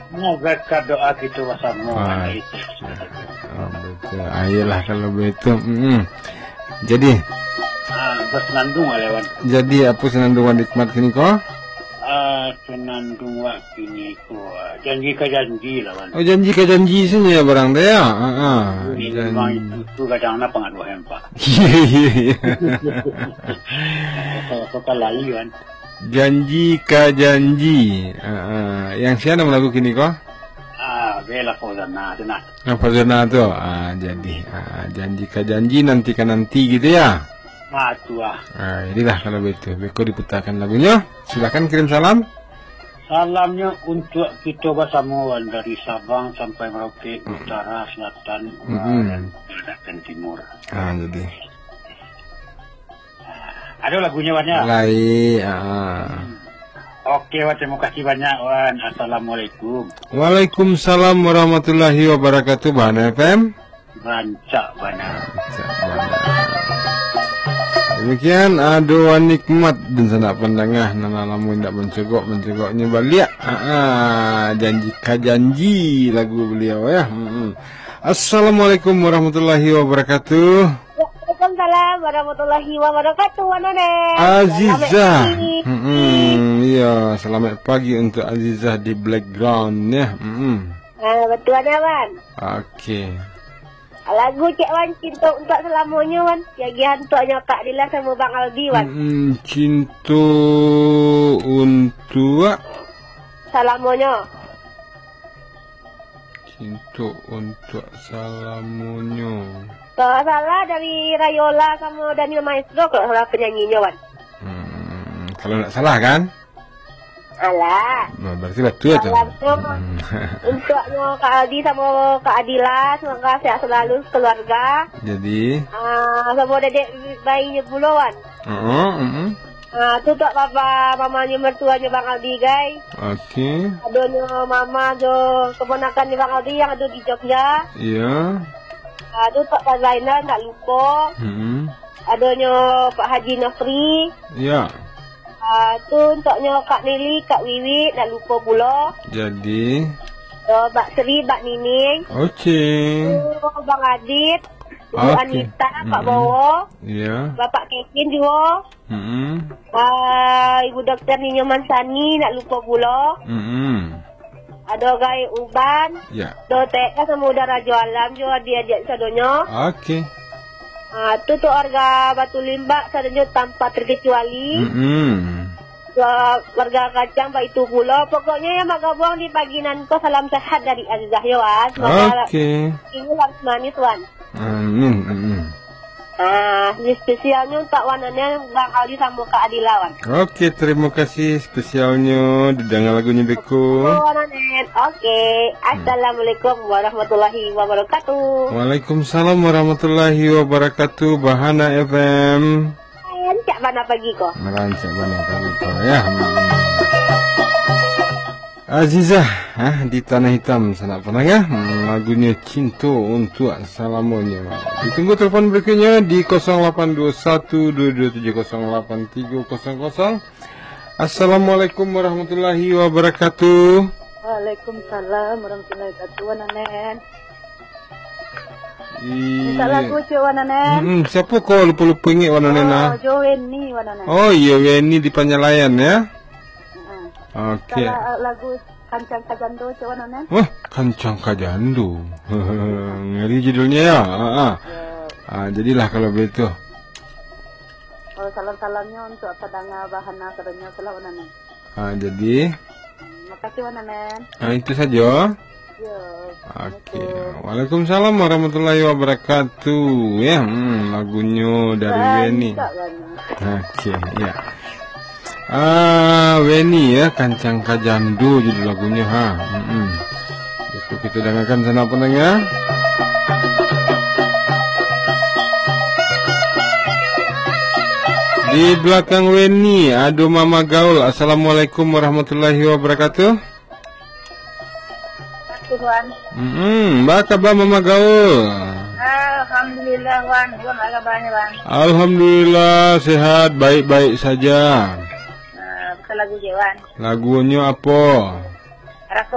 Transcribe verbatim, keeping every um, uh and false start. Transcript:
Semoga doa kita bersama. Ah, ah, betul. Ah, iyalah kalau begitu. Mm-mm. Jadi, ah, bersenandung lah, Wan. Jadi, apa senandung Wan Nikmat kini ko? Ah, senandung wak kini ko, ah, janji ka janji lah, Wan. Oh, janji ka janji saja barang tu, ya? Ah, ah. Ini Jan- memang itu tu kadang nak pengaruh, Pak. Iya, iya, iya. Apa, apa, apa lagi, Wan? Janji ka janji. Ah, ah. Yang sia nan lagu kini ko? Ah, bela Fauzana tu nah. Ah, Fauzana tu. Ah, jadi. Ah, janji ka janji, nanti ka nanti gitu ya. Ah, tu ah. Ah, jadilah kalau begitu. Beko diputarkan lagunya. Silakan kirim salam. Salamnya untuk kita bersama, Wan, dari Sabang sampai Merauke, utara, selatan, barat, barat dan timur. Ah, jadi. Ada lagunya, Wan, ya? Lai, ah. Oke, Wan, terima kasih banyak, Wan. Assalamualaikum. Waalaikumsalam warahmatullahi wabarakatuh, Bahana F M. Rancak bana. Rancak bana. Demikian, ah, doa nikmat dan sanak pandanga, nan lamo indak mancogok, mancogoknyo baliak. Ah, ah, janji ka janji lagu beliau, ya. Mm-mm. Assalamualaikum warahmatullahi wabarakatuh. Waalaikumsalam warahmatullahi wabarakatuh, Wan Onet. Azizah. Selamat pagi. Mm-mm, iya, selamat pagi untuk Azizah di background, ya. Mm-mm. Ah, betul ada, Wan. Oke. Lagu cek, Wan, Cinto Untuak Salamonyo, Wan. Diagiahan untuaknyo Kak Dila samo Bang Aldi, Wan. Mm-mm, Cinto Untuak Salamonyo. Cinto Untuak Salamonyo. Kalau ndak salah dari Rayola samo Daniel Maestro, kalau ndak salah penyanyinyo, Wan. Hmm, kalau ndak salah kan? Alah. Nah, berarti betul tu. Salam tu untuaknyo Kak Aldi samo Kak Adila, semoga sehat selalu keluarga. Jadi. Ah, samo dedek bayinyo pulo, Wan. Heeh, heeh. Ah, tu untuak papa, mamanyo, mertuanyo Bang Aldi, gai. Oke. Adonyo mama jo keponakannyo Bang Aldi yang ado di Jogja. Iya. Ah, tu untuak Pak Zainal, ndak lupo. Hmm. Adonyo Pak Haji Nofri. Iya. Ah, tu untuaknyo Kak Nili, Kak Wiwi, ndak lupo pulo. Jadi. Yo, Bak Sri, Bak Nining. Oke. Tu Bang Adit, Ibu Oke. Anita, Kak Mm-mm. Bowo. Iya. Bapak Kevin juo. Mm-mm. Ah, Ibu Dokter Ninyo Mansani, ndak lupo pulo. Mm-mm. Ado Gai Uban. Ya. Dotek ka samo Uda Rajo Alam jo adiak-adiak sadonyo. Oke. Ah, tu, tu warga Batu Limbak sadonyo tanpa terkecuali. Mm-mm. Wa-, warga Kacang baitu pulo. Pokoknyo yang bagabuang di pagi nan ko, salam sehat dari Azizah yo, Wan. Semoga Oke. Ini harus manis, Wan. Amin, amin. Ah, ini spesialnyo untuak Wan Onet, Bang Aldi samo Kak Adila, Wan. Oke, terima kasih spesialnyo. Didanga lagunyo beko. Oh, Wan Onet. Oke. Hmm. Assalamualaikum warahmatullahi wabarakatuh. Waalaikumsalam warahmatullahi wabarakatuh. Bahana F M. Rancak bana pagi ko. Rancak bana pagi ko, ya. Hmm. Azizah, ah, di Tanah Hitam, sanak pandanga. Hmm, lagunyo Cinto Untuak Salamonyo. Ditunggu telepon berikutnya di kosong lapan dua satu dua dua tujuh kosong lapan tiga kosong kosong. Assalamualaikum warahmatullahi wabarakatuh. Waalaikumsalam warahmatullahi wabarakatuh, Wan Onet. Iya. Minta lagu, cek, Wan Onet. Mm-mm. Siapa ko lupa-lupa ingat, Wan Onet, Oh, nah? Jo Weni, Wan Onet. Oh, iya, Weni di Panyalayan, ya? Mm-mm. Oke. Salah, eh, lagu Kancang Kajando, cek, Wan Onet. Wah, Kancang Kajando. Ngeri judulnya, ya? Ah, ah. Ya. Ah, jadilah kalau begitu. Oh, salam-salamnya untuk pendengar Bahana sadonyo, salam, Wan Onet. Ah, jadi? Hmm, makasih, Wan Onet. Ah, itu saja. Yo. Oke. Assalamualaikum. Waalaikumsalam warahmatullahi wabarakatuh. Ya, hmm, lagunyo dari Weni. Rancak bana. Oke, ya. Ah, Weni ya, Kancang Kajando judul lagunyo, ha. Mm-mm. Itu kita dengarkan, sanak pandanga. Di belakang Weni, ado Mama Gaul. Assalamualaikum warahmatullahi wabarakatuh. Tuhan. Mm-mm, ba kaba Mama Gaul? Alhamdulillah, Wan. Wan, ba kabanyo, Wan? Alhamdulillah, sehat, baik-baik saja. Ah, pasal lagu je, Wan. Lagunyo apo?